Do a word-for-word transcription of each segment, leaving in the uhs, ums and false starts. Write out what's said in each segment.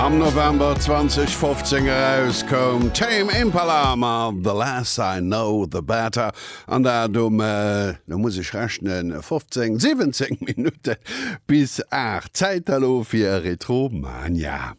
Am November zweedausendfofzéng erauskoum, Tame Impala mat The Less I Know The Better, an dat um, lo muss ech rechnen, fofzéng, siwwenzéng Minutte bis aacht. Zäit elo fir Retromania.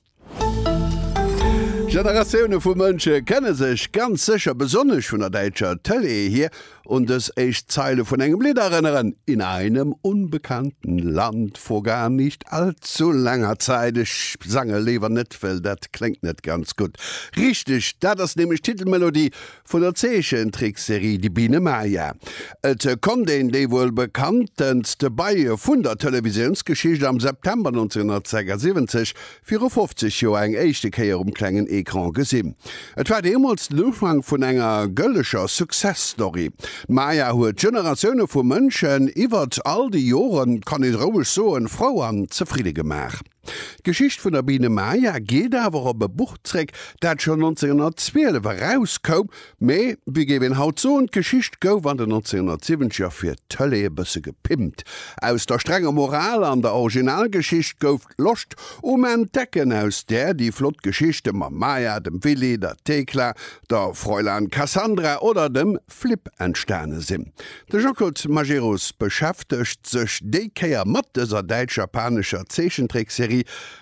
Generatioune vu Mënsche kënne sech ganz sécher, besonnesch vun der däitscher Tëlee hier, un dës éischt Zeile vun engem Lidd erënneren, In einem unbekannten Land vor gar nicht allzu langer Zeit. Ech sange léiwer net, well dat kléngt net ganz gutt. Richteg, dat ass nämlech d'Titelmelodie vun der Zeechentrickserie Die Biene Maja. Et konnt een déi wuel bekanntenste Bei vun der Televisiounsgeschicht am September nonzénghunnertsechsasiwwenzeg, viru fofzeg Joer, eng éischte Kéier um klengen Ecran gesinn. Et war deemools den Ufank vun enger gëlleger Success-Story. D'Maja huet Generatioune vu Mënschen iwwert all déi Joren, kann ee roueg soen, frou an zefridde gemaach. D'Geschicht vun der Biene Maja geet awer op e Buch zréck, dat schonn nonzénghunnertzwielef erauskoum, mee, wéi géif een haut soen, d'Geschicht gouf an den nonzénghunnertsiwwenzeger fir d'Tëlee e bësse gepimpt. Aus der strenger Moral an der Originalgeschicht gouf d'Loscht um Entdecken, aus där déi flott Geschichte mam Maja, dem Willy, der Thekla, der Fräulein Cassandra oder dem Flip entstane sinn. De Jean-Claude Majerus beschäftegt sech déi Kéier mat dëser däitsch-japanescher Zeechentrickserie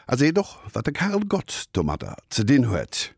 a seet och, wat de Karel Gott domadder ze dinn huet.